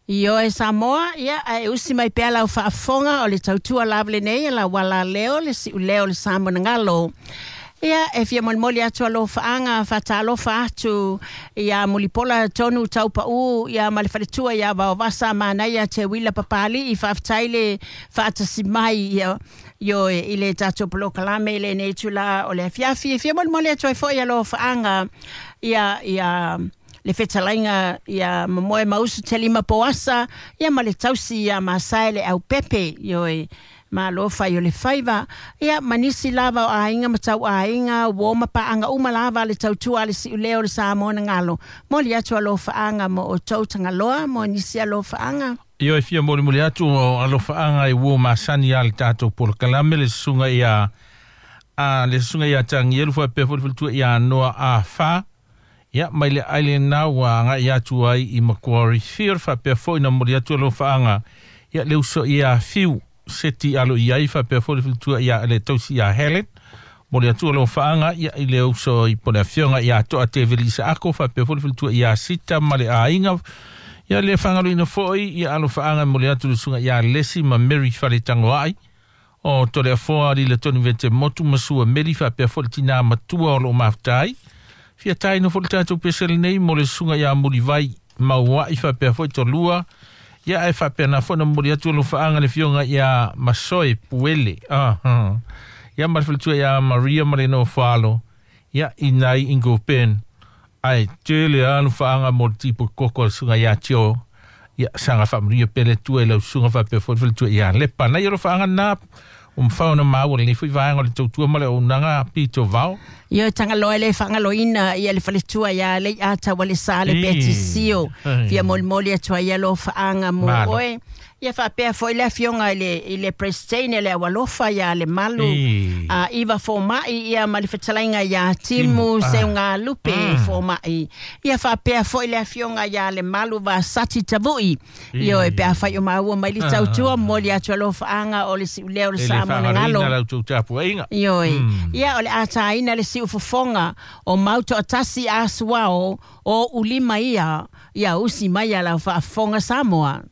Ioe Samoa, ia ae usi mai pea lau faafofoga o le tautua lava lenei a lau alaleo le siuleo o le Samoanagalo. Ia, e fia molimoli atu alofaaga faatalofa atu ia Mulipola Tonu Taupau ia ma le faletua ia Vaovasa Manaia Teuila Papali'i. Faafetai le faatasi mai ia ioe i le tatou polokalame i lenei itula o le afiafi. E fia molimoli atu ai foi alofaaga ia le fetalaiga ia Mamoe Mausu Telima Poasa ia ma le tausi ia Masae le Aupepe ioe malo fai o le faiva ia ma nisi lava o aiga ma tauaiga uo ma paaga uma lava le tautua a le siuleo o le Samoanagalo. Moli atu alofaaga mo outou tagaloa mo nisi alofaaga. Ioe fia molimoli atu o alofaaga i uo masani a le tatou polokalame le susuga ia a le susuga ia Tagielu faapea foi le faletua ia Noa Afa ia mai le island na ua agai atu ai i Macquarie Field faapea foi na momoli atu alofaaga ia le uso ia Fiu Seti alo i ai faapea foi le faletua ia le tausi ia Helen momoli atu alofaaga ia i le uso i po le afioga ia Toa Teveli Isaako faapea foi le faletua ia Sita ma le aiga ia le faagaloina foi ia alofaaga momoli atu le susuga ia Lesi ma Mary Faletagoai o Toleafoa Lila Tonu Vete Motu ma Sua Meli faapea foi le tina matua o loo mafuta fia taina foi le tatou pese lenei mo le susuga ia Mulivai Mauai faapea foi Tolua ia ae faapena foi na momoli atu alofaaga le afioga ia Masoe Puele ia ma le faletua ia Maria ma le nofo ia i nai Ingopen ae tele alofaaga mo le tipo koko a le susuga ia Tio ia saga faamanuia pea le Atua i lau susuga faapea foi le faletua ia Lepa nai alofaaga na o mafai ona maua lenei foi vaega o le tautua ma le auaunaga pito vao. Ia tagaloa le faagaloina ia le faletua ia Leiata ua le sa le Petisio. Fia molimoli atu ai alofaaga mo oe. Ia faapea foi le afioga i le President le Aualofa ia le Malu Iva Fomai ia ma le fetalaiga ia Timu Seugalupe Fomai. Ia faapea foi le afioga ia le Malu Vasati Tavui. Ioe pe afai o maua mai le tautua momoli atu alofaaga o le siuleo o le E le Samoanagalo. faagaloina lau tapuaiga. Ioe. Ia o le ataina le siufofoga o Mautoatasi Asuao o Ulima ia ia usi mai a lau faafofoga Samoa.